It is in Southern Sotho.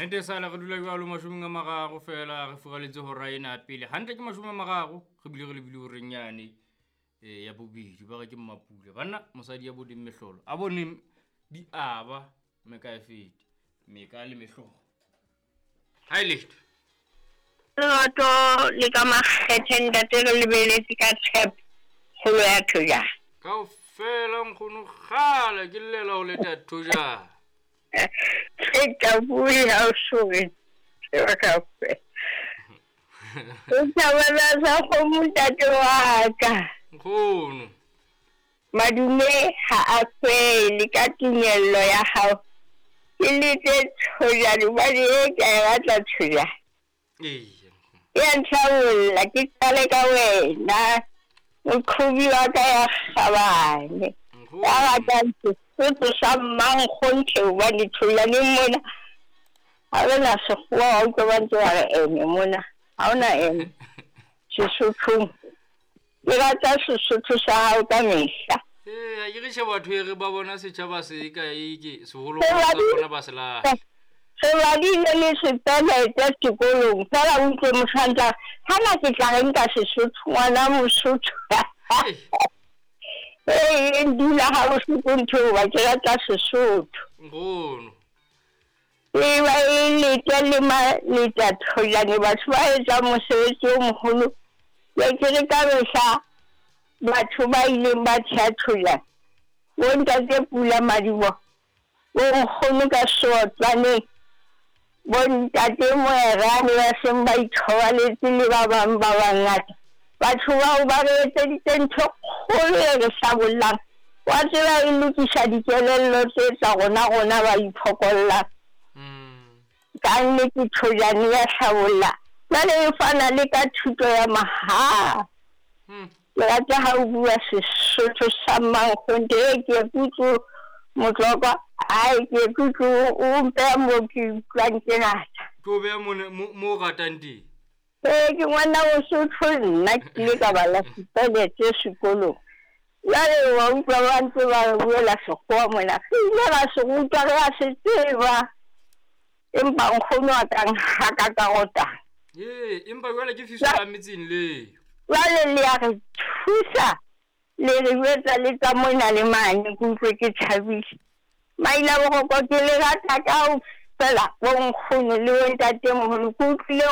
Nnete sala re dula jwalo 30 fela re furaletse hora ena pele. Hantle ke 30 re bile re lebile horeng yane ya bobedi ba re ke Mmapula. Banna mosadi ya boneng mehlolo a boneng di aba meka e fete meka le mehlolo. Ha e letho. Lerato le ka makgethe ntate re lebeletse ka tshepo kgolo ya Thojane. Kaofela nkgono kgale ke llela ho leta Thojane. Ke tla bua ha o sore. Tseba kaofela. O thabela sa kgomo ntate wa ka. Nkgono. Madume ha a fele ka tumello ya hao. Ke letse Thojane hobane e ke a e batla Thojane. Eya. Ya ntlhabolla ke qale ka wena. Moqhobi wa ka ya kgabane. Ya ratang Sesotho sa mmankgonthe hobane Thojaneng mona ha re na sekgowa wa utlwa ba ntse ba re ene mona. Ha hona ene Sesothong. Ke rata Sesotho sa hao ka mehla. Ee, ha ke re tjhe batho e re ba bona setjhaba se ka e ke seholo sa bona ba se lahla. Re badile le sepelete sekolong fela o utlwe mosantla hana ke tla re nka Sesotho ngwana Mosotho. Ee, dula ha bohloko ntho eo ba ke rata Sesotho. Nkgono. E ba e lete le maleta Thojane batho ba etsang mosebetsi o moholo. Ke ke re ka mehla batho ba ileng ba theha Thojane bo ntate Pula Madiboho, bo nkgono ka Seotlwaneng, bo ntate Moerane ba seng ba ithobaletse le ba bang ba bangata. Batho bao ba re etseditse ntho kgolo e re hlabollang. Wa tseba e lokisa dikelello tse tsa rona rona ba iphokollang. Ka nnete Thojane ya hlabolla. Jwale e fana le ka thuto ya mahala. Ke rata ha o bua Sesotho sa mmankgonthe e ke kutlwe Motlokwa, ai ke kutlwe o mpeha moo ke utlwang ke rata. Ke o beha mo o ratang teng. Ee, ke ngwana Mosotho nna ke ile ka bala sepelete sekolong. Jwale wa utlwa ba ntse ba re buela sekgowa mona. Re ile ra se rutwa re a se tseba. Empa nkgono a ka nhaka ka rotana. Ee, empa jwale ke fiso la metseng leo. Jwale le ya re thusa le re jwetsa le tsa mona le mane ke utlwe ke thabile. Maila boroko ke le rata kaofela bo nkgono le bo ntatemoholo ke utlwile.